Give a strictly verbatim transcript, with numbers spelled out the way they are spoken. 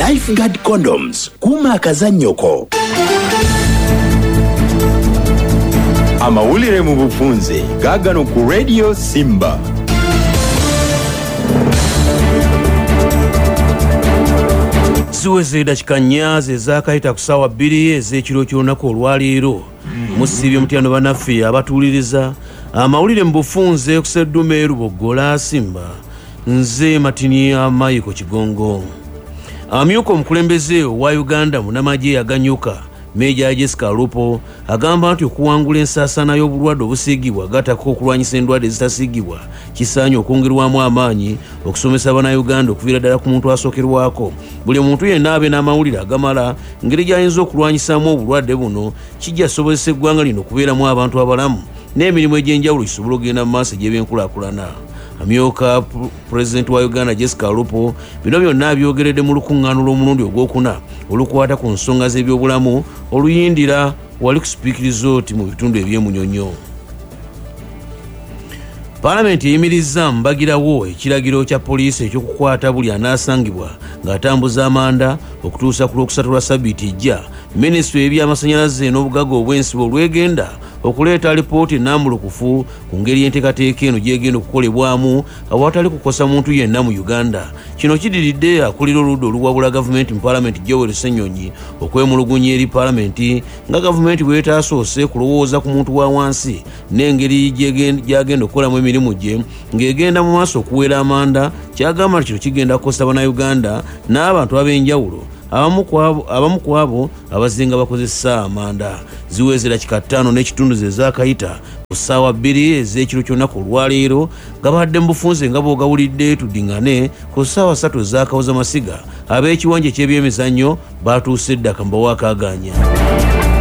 Lifeguard Condoms, kuuma akazannyoko. Amawulire mu bufunze gaagano ku Radio Simba. Ziweze dakika nnya ezaakayita ku ssaawa bbiri ez'ekiro ky'olunaku olwaleero. Musiibye mutyano bannaffe abatuwuliriza. Amawulire mu bufunze ku Sseddume Luboggola Simba. Nze Matini Amayiko Kigongo. Amyuka omukulembeze wa Uganda munnamagye aganyuka Meja Jessica Alupo agamba nti okuwangula ensaasaana y'obulwadde obusiigibwa gattako okulwanyisa endwadde ezitasiigibwa kisaanye okwongerwamu amaanyi okusomesa Bannayuganda okuviira ddala ku muntu asookerwako. Buli muntu yenna abe n'amawulire agamala ngeri gy'ayinza okulwanyisaamu obulwadde buno kijja kusobozesa eggwanga lino okubeeramu abantu abalamu n'emirimu egy'enjawulo gisobole okugenda mu maaso egy'ebyenkulaakulana. Amyuka pulezidenti wa Uganda Jessica Alupo bino byonna abyogeredde mu lukuŋŋaano lw'omulundi ogwokuna olukwata ku nsonga z'ebyobulamu oluyindira wali ku Speke Resort mu bitundu eby'emunyonyo. Paalamenti eyimirizza mbagirawo ekiragiro kya poliisi eky'okukwata buli anaasangibwa ng'atambuza amanda okutuusa ku Lwokusatu lwa ssabbiiti ejja. Minisitule y'ebyamasannyalaze n'obugagga obw'ensibo olwegenda okuleeta alipoota ennambulukufu ku ngeri y'enteekateeka eno gy'egenda okukolebwamu awatali kukosa muntu yenna mu Uganda. Kino kidiridde akulira oludda oluwabula gavumenti mu paalamenti Joel Ssenyonyi okwemulugunya eri paalamenti nga gavumenti bw'etaasoose kulowooza ku muntu wa wansi n'engeri gy'agenda okukolamu emirimu gye ng'egenda mu maaso okuwera amanda. Kyagamba nti kino kigenda kukosa Bannayuganda n'abantu ab'enjawulo abamu ku abo abazinga bakozesa amanda. Ziweze dakika ttaano n'ekitundu ze zaakayita ku ssaawa bbiri ez'ekiro ky'olunaku olwaleero gabadde mu bufunze nga bw'ogawulidde tuddingane ku ssaawa ssatu ez'akawuza masiga ab'ekiwanja eky'ebyemizannyo baatuuse edda kambawo akaagaanya.